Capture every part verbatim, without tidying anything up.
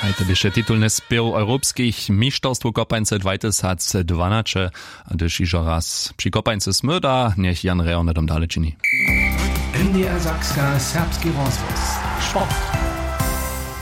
Haj to běše titulny spěw europskich mišterstwow kopańce dwajtysacdwanaće. A hdyž hižo raz při kopańce smyda, njech jan rejo hnydom dale čini. N D R Sakska, serbski rozhłos. Sport.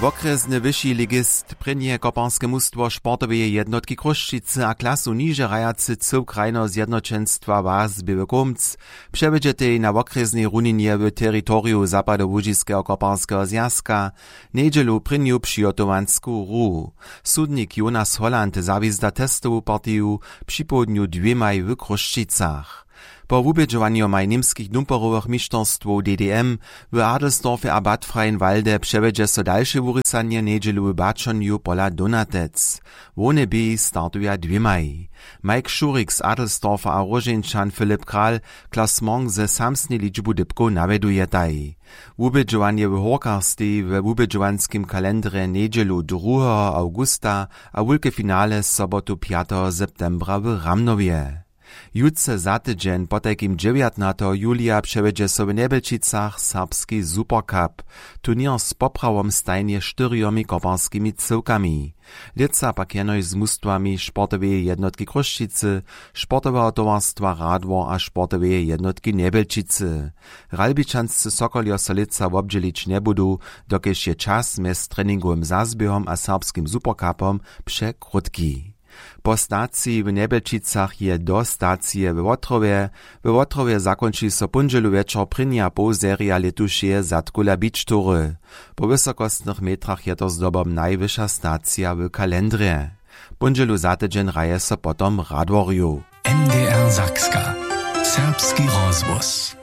Wokrjesny wyši ligist, prěnje koparske mustwo sportoweje jednotki Chrósćicy a klasu niže hrajacy cył krajneho zjednoćenstwa was běły kumc, přewjedźetej na wokrjesnej runinje w teritoriju zapadołužiskeho koparskeho zwjazka njedźelu prěnju přihotowansku hru. Sudnik jonas holland zawězda testowu partiju připołdnju dwěmaj w chrósćicach. Po wubědźowanjomaj němskich dumporowych mišterstwow d d m w adelsdorfje a bad freienwalde přewjedźe so dalše wurisanje njedźelu w baćonju pola donatec. Hłowne běhi startuja dwěmaj. Mike šurik z adelsdorfa a róžeńčan filip kral klasmong ze samsnej ličbu dypkow nawjedujetaj. Wubědźowanje w hórkach steji we wubědźowanskim kalendrje njedźelu druheho awgusta a wulke finale sobotu pjateho septembra w ramnowje. Jutře za tydźeń potajkim dźewjatnateho julija přewjedźe so w njebelčicach serbski supercup, turněr z poprawom stajnje štyrjomi koparskimi cyłkami. Lětsa pak jenož z mustwami sportoweje jednotki chrósćicy, sportoweho towarstwa radwor a sportoweje jednotki njebelčicy. Ralbičanscy sokoljo so lětsa wobdźělić njebudu, dokelž je čas mjez treningowym zazběhom a serbskim supercupom překrótki. Po staciji w njebelčicach je do stacije we wotrowje. We wotrowje zakónči so póndźelu wječor prěnja połserija lětušeje zadkula bičtury. Po wysokostnych metrach je to zdobom najwyša stacija w kalendrje. Póndźelu za tydźeń hraje so potom radworju. N D R Sakska, serbski rozhłos.